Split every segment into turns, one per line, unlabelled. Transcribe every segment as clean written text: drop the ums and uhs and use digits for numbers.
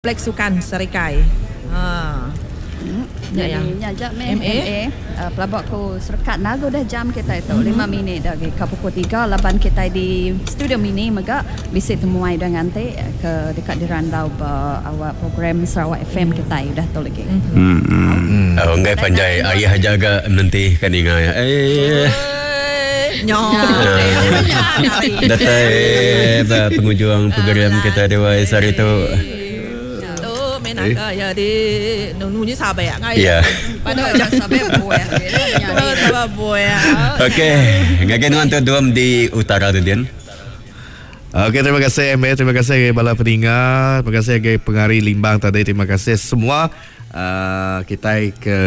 Kompleks Sukan Serikai. Ha.
Nya ya. Nya aja meh MA. MA. Pelaba ku serekat enda udah jam kitai tu lima minit da agi ka pukul tiga laban kitai di studio mini mega bisi temuai udah nganti ke deka dirandau ba awak program Sarawak FM kitai udah tu lagi.
Oh enggai panjai ayah aja ga menti ka ninga iya. Eh.
Nya.
Datai ba pengujung program kitai dewai sehari tu.
Tu meh naka iya di nunyi sabek ngai.
Ya.
Pada orang sabek buah.
Sabek buah.
Okey, ngagai nuan tu dom di utara tu din.
Okey terima kasih MA, terima kasih ngagai bala peninga, terima kasih ngagai pengari Limbang tadi, terima kasih semua uh, kitai ke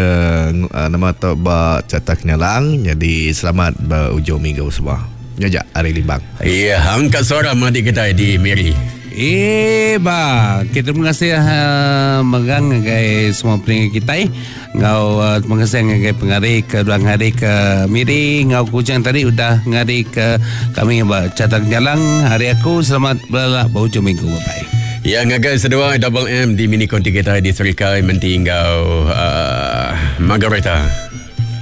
uh, nama tu ba Carta Kenyalang. Jadi selamat berujung minggu semua. Nya ja ari Limbang.
Iya, angkat suara madi kitai di Miri.
Eh ba, okay, terima kasih uh, megang ngagai semua peninga kitai enggau uh, terima kasih ngagai pengari ke duang hari ke Miri enggau Kuching tadi udah ngari ke kami ba Catang Jalang hari aku selamat belala ba ujung minggu bye bye.
Ya ngagai seduai Double M di mini konti kitai di Serikai Menti enggau uh, Margareta.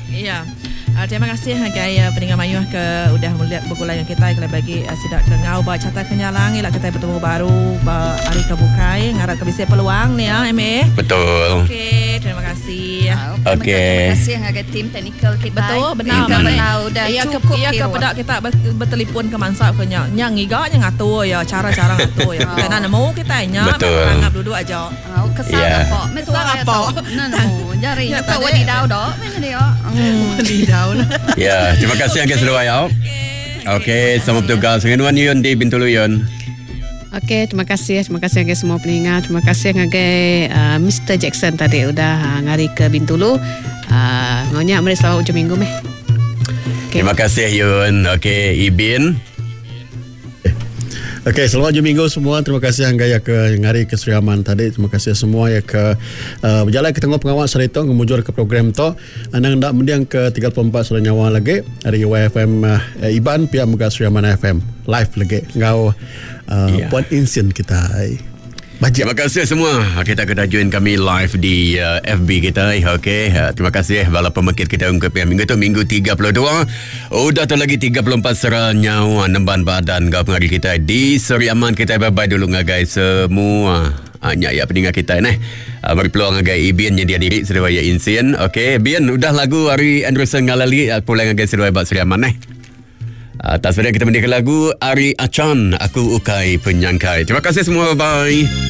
Iya. Uh, terima kasih ngagai uh, peninga mayuh ke udah melihat begulai dengan kita kelebih lagi uh, sida ke ngau ba carta kenyalang ila kita bertemu baru ba hari ke bukai ngarap ke bisi peluang ni ya MA.
Betul.
Okey, terima kasih.
Okey.
Terima kasih ngagai tim teknikal kita.
Betul, benar.
Ke benar udah
iya ke,
cukup
iya ke
kiruh.
peda kita betelefon ke mansa ke nya. Nya ngiga nya ngatur ya cara-cara ngatur ya. Kita nak nemu kita nya
Betul.
anggap duduk aja.
Au kesal
Yeah.
apa? Meh
Kesal
tuai
apa?
tu. Nah nemu. Jari
Ya,
nya kau
tadi.
wadidau dok. Meh dia. Hmm.
Lidau lah.
Ya, terima kasih ngagai seduai au. Okey, selamat bertugas dengan nuan Yun di Bintulu Yun.
Okey, terima kasih. Terima kasih ngagai semua peninga. Terima kasih ngagai uh, Mr. Jackson tadi udah uh, ngari ke Bintulu. Uh, ngonya meri selamat ujung minggu meh. Okey.
Terima kasih Yun. Okey, Ibin.
Okey, selamat hujung minggu semua. Terima kasih angga ya ke ngari ke Sri Aman tadi. Terima kasih semua ya ke uh, berjalan ke tengah pengawal sehari tu ngemujur ke program tu. Anang ndak mendiang ke 34 suara nyawa lagi dari YFM uh, Iban pihak Mega Sri Aman FM live lagi ngau uh,
Ya.
Puan Insin kita. Bajik.
Terima kasih semua. Kita kena join kami live di uh, FB kita. Okey, uh, terima kasih bala pemekit kita ungkap yang minggu tu minggu 32. Udah tu lagi 34 sera nyawa nemban badan gau pengari kita di Seri Aman kita bye-bye dulu ngagai semua. Ah, nyak ya pendengar kita neh. Uh, beri peluang ngagai Ibin nyedia diri seduai ya Insin. Okey, Bin udah lagu Ari Anderson ngalali uh, pulang ngagai seduai bak Seri Aman neh. Atas uh, kita mendengar lagu Ari Achan Aku Ukai Penyangkai. Terima kasih semua. Bye.